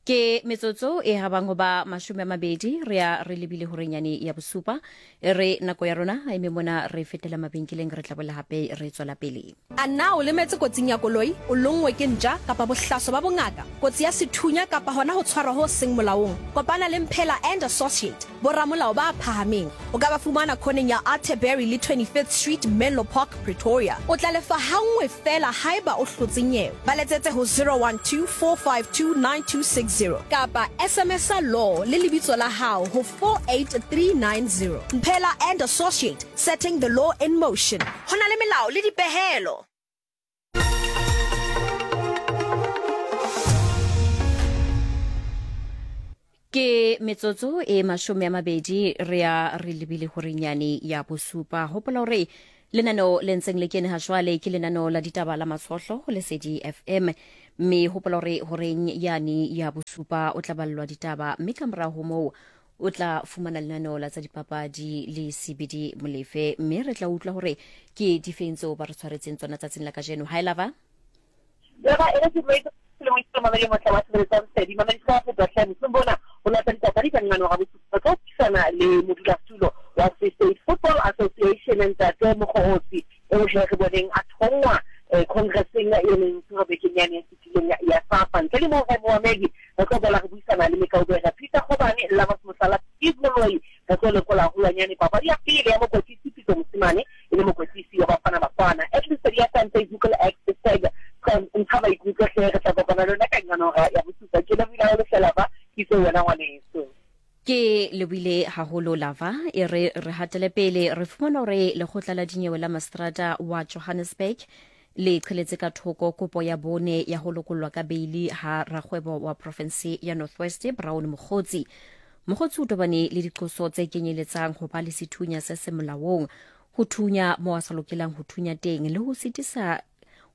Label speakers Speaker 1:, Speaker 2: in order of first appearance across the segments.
Speaker 1: Ke metsotso e habang ho ba 20 re ya re lebile horenyane ya bosupa. E re nako ya rona a eme mona re fetela mabenkeleng re tla boela hape re tswela pele.
Speaker 2: A na o lemetse kotsing ya koloi, o lonngwe ke ntja kapa bohlaswa ba bongaka, kotsi ya sethunya kapa hona ho tshwarwa ho seng molaong? Kopana le Mphela and Associate, boramolao ba phahameng. O ka ba fumana khoneng ya Atterbury le 25th Street, Menlo Park, Pretoria. O tla lefa hanngwe feela haeba o hlotse nyewe. Ba letsetse ho 012 452 9260 kapa SMS-a law le lebitso la hao ho 48390. Mphela and Associate, setting the law in motion. Ho na le melao le dipehelo.
Speaker 1: Ke metsotso e 20 re ya re lebile horenyane ya bosupa. Hopola hore lenaneo le ntseng le kene ha jwale ke lenaneo la ditaba la Matshohlo ho Lesedi FM. Mme hopola hore horeng yane ya bosupa o tla ballwa ditaba mme ka mora ho moo o tla fumana lenaneo la tsa dipapadi le CBD Molefe mme re tla utlwa hore ke difeng tseo ba re tshwaretseng tsona tsatsing la kajeno. Hi Lava.
Speaker 3: Lava e re ke le mo mamedi motle wa tshebeletso ya Lesedi mamedi ka fetwa hle mosong bona ho lata dipapadi ka nqano ga bosupa tlo buisana le modulasetulo wa Free State Football Association ntate Mokgogotsi eo he re boneng a thongwa congresseng e neng tshwerwe bekeng yane e fetileng ya SAFA. Ntle le moo he moamedi re tlo boela re buisana le mekaubere Peter Kgobane, Lovers Mohlala, Steve Moloi. Re tlo lekola haholwanyane papadi ya pele ya mokwetlisi Pitso Mosimane e le mokwetlisi wa Bafana Bafana. At Lesedi FM, Facebook le X, tag ntsha maikutlo hle, re tla kopana le lona ka nqano hora ya bosupa. Ke lebohile haholo hle Lava, ke itse wena ngwaneso.
Speaker 1: Ke lebohile haholo Lava. E re re hatele pele re fumana hore lekgotla la dinyewe la maseterata wa Johannesburg le qheletse ka thoko kopo ya bone ya ho lokollwa ka beili ha rakgwebo wa profense ya North West Brown Mogotsi. Mogotsi o tobane le diqoso tse kenyeletsang ho ba le sethunya se se molaong, ho thunya mo a sa lokelang ho thunya teng le ho sitisa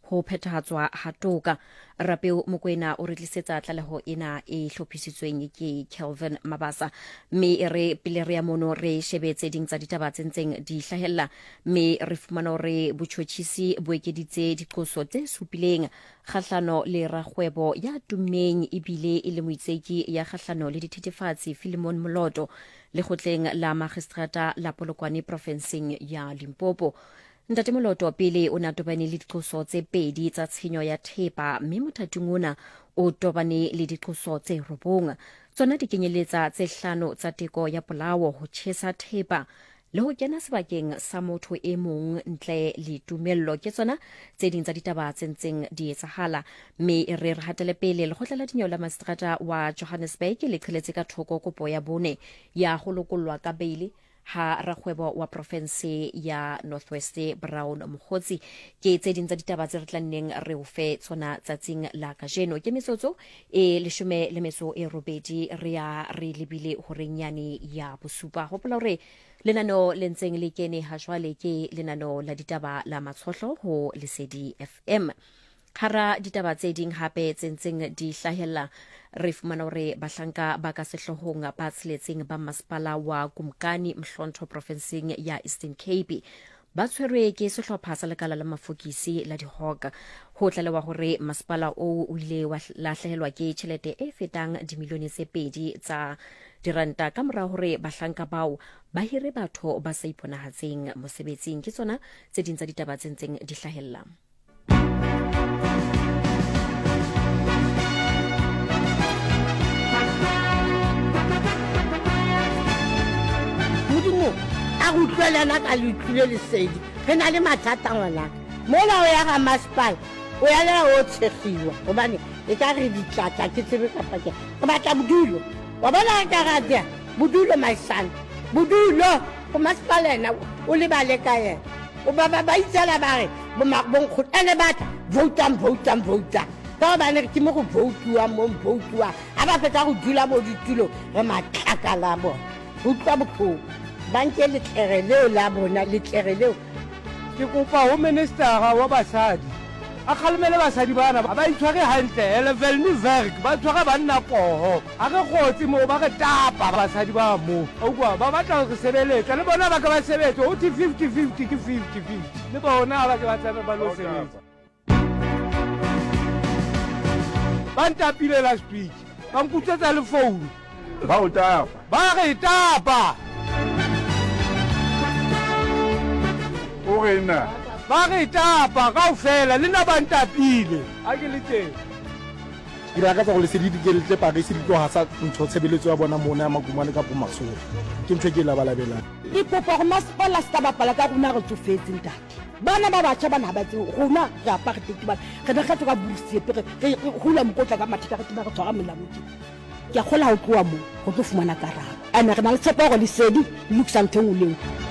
Speaker 1: ho phethahatswa ha toka. Rapeo Mokoena o re tlisetsa tlaleho ena e hlophisitsweng ke Kelvin Mabasa. Mme e re pele re ya mono re shebe tse ding tsa ditaba tse ntseng di hlahella mme re fumana hore botjhotjhisi bo ekeditse diqoso tse supileng kgahlano le rakgwebo ya tummeng ebile e le moitseki ya kgahlano le dithethefatsi Philemon Moloto lekgotleng la magistrata la Polokwane profenseng ya Limpopo. Ntate Moloto pele o ne a tobane le diqoso tse pedi tsa tshenyo ya thepa mme mothating ona o tobane le diqoso tse robong. Tsona di kenyeletsa tse hlano tsa teko ya polao, ho tjhesa thepa le ho kena sebakeng sa motho e mong ntle le tumello. Ke tsona tse ding tsa ditaba tse ntseng di etsahala. Mme e re re hatele pele, lekgotla la dinyewe la maseterata wa Johannesburg le qheletse ka thoko kopo ya bone ya ho lokollwa ka beile ha rakgwebo wa profense ya North West Brown Mogotsi. Ke tse ding tsa ditaba tse re tla nneng re o fe tsona tsatsing la kajeno. Ke metsotso e 18 re ya re lebile horeng yane ya bosupa. Hopola hore lenaneo le ntseng le kene ha jwale ke lenaneo la ditaba la Matshohlo ho Lesedi FM. Hara ditaba tse ding hape tse ntseng di hlahella, re fumana hore bahlanka ba ka sehloohong ba tsheletseng ba masepala wa Kumkani Mhlontho profenseng ya Eastern Cape ba tshwerwe ke sehlopha sa lekala la mafokisi la di-hawk. Ho tlalewa hore masepala oo o ile wa lahlehelwa ke tjhelete e fetang dimilione tse pedi tsa diranta ka mora hore bahlanka bao ba hire batho ba sa iponahatseng mosebetsing. Ke tsona tse ding tsa ditaba tse ntseng di hlahella.
Speaker 4: Modimo a re utlwelana ka le utlwile lesedi re na le mathata ngwanaka mola o ya ga masepala o ya lela o tshegiwa gobane e ka re ditlatla ke tsebe kapa ke re batla bodulo wa bona re ka ratea bodulo my son bodulo go masepala ena o lebale ka yena O ba ba ba itsela ba re bonkgono ene batla voutang voutang voutang ka gobane ke mo go voutiwang mo voutiwang ga ba fetsa go dula mo ditulong re matlakala a bona re utlwa botlhoko ba nke letlere leo la bona letlere leo.
Speaker 5: Ke kopa ho ministera wa basadi a kgalemele basadi bana ba itshware hantle hele velni werk ba tshwara banna poho ha re kgotse moo ba re tapa basadi ba mo ukwa ba batla ho re sebeletsa le bona ba ke ba sebetse ho thwe 50 50 ke 50 50 le bona ha ba ke ba tsamaye ba lo sebetsa ba ntapile last week. Ba nkutswetsa le founu.
Speaker 6: Ba o tapa.
Speaker 5: Ba re tapa.
Speaker 6: O re na?
Speaker 5: Ba re tapa kaofela, le nna ba ntapile. Ha ke le teng.
Speaker 7: Ke lakatsa gore lesedi di ke le tle Paris di tlo hasa ntho tshebeletso ya bona mona ya Makumane kapo Masoro. Ke ntho e ke e labalabelang.
Speaker 8: Ke kopa gore masepala se ka bapala ka rona re tsofetse ntate. Bana ba batjha bana ha ba tsebe rona re apartheid bana re ne re ka bosiepe re re hula mokotla ka matheka re tseba re tshwara melamu tje. Ke a kgola ha o tloha mo go tlo fumana karabo. Ene re na le tshepo ya gore lesedi le lokisa ntho e nngwe le nngwe.